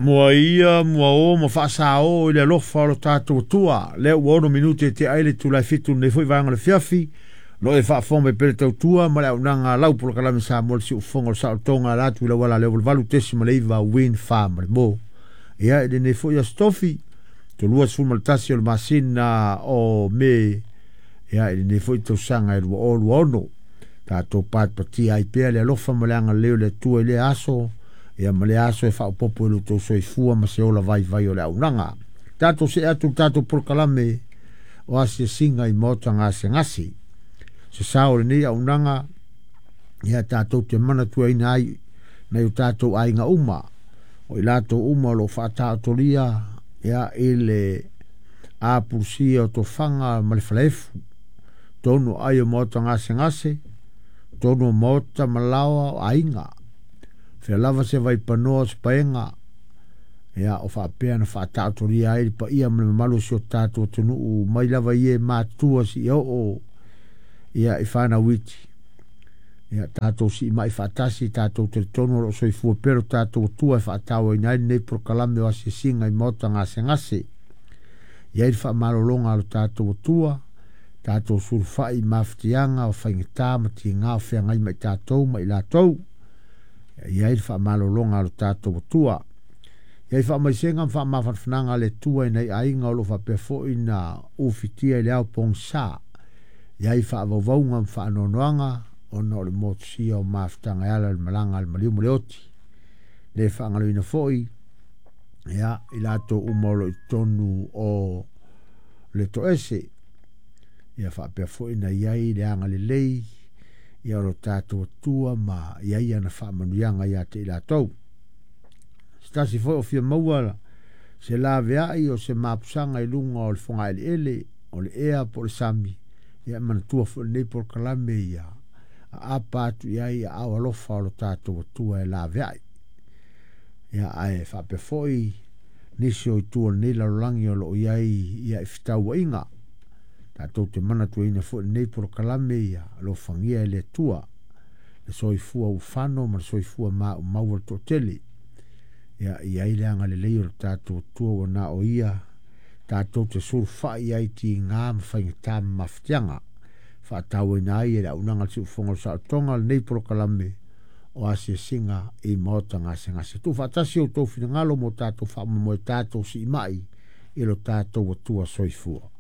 Mua ia mua o ma faasao i le alofa o lo tatou Atua. Lea ua 6 minute te ai le itula e 7 lenei foi vaega o le afiafi. Lo e faafofoga mai pea le tautua ma le auaunaga lau polokalame Samoa le siufofoga o le saolotoga ala atu i le auala lea 88.9 Win Fa ma le Mo. Ia i lenei foi aso tofi, 21 o le masina o Me, ia i lenei foi tausaga e 2026. Tatou patipatia ai pea le alofa ma le agalelei o le Atua i lea aso, ia ma lea aso e faaopoopo i lo outou soifua ma se ola vaivai o le auaunaga. Tatou see atu i le tatou polokalame o asiasiga i maota gasegase. Se sao o lenei auaunaga, ia tatou te manatuaina ai nai o tatou aiga uma, o i latou uma o lo o faataotolia ia i le apulusia o tofaga ma le falaefu, tonu ai o maota gasegase, tonu o maota ma laoa o aiga, fea lava se vaipanoa o se paega, ia o faapea na faataotolia ai le paia ma le mamalu o si o tatou atunuu mai lava i e matutua si oo ia i whanau iti. Ia tatou siimai faatasi, tatou talitonu o lo o soifua pea lo tatou Atua e faatauaina ai lenei polokalame o asiasiga i maota gasegase. I ai le faamalologa a lo tatou Atua, tatou sulufai i mafatiaga o faigata ma tiga o feagai ma i tatou ma i latou. I ai le faamalologa a lo tatou Atua. I ai faamaisega ma faamafanafanaga a le Atua i nai aiga o lo o faapea foi na ufitia i le ao pogisa. I ai faavauvauga ma faanoanoaga ona o le motusia o mafutaga e ala i le malaga a le maliu ma le oti. Le faagaloina foi ia i latou uma o lo o i totonu o le toese. Ia faapea foi na i ai le agalelei ia o lo tatou Atua ma i ai ana faamanuiaga ia te i latou. Se tasi foi o fia maua se laveai o se mapusaga i luga o le fogaeleele, o le ea po o le sami, ia e manatua foi lenei polokalame ia aapa atu i ai aao alofa o lo tatou Atua e laveai. Ia ae faapea foi nisi o itu o lenei lalolagi o lo o i ai ia i fetauaiga. Tatou te manatuaina foi lenei polokalame ia alofagia e le Atua le soifua ufano ma le soifua maumau o le toatele. Ia i ai le agalelei o le tatou Atua ua na o ia tatou te sulufai ai tiga ma faigata ma mafatiaga. Faatauaina ai e le auaunaga a le Siufofoga o le Saolotoga lenei polokalame o asiasiga i maota gasegase. Tuufaatasi outou finagalo mo tatou faamoemoe tatou siimai i lo tatou Atua soifua.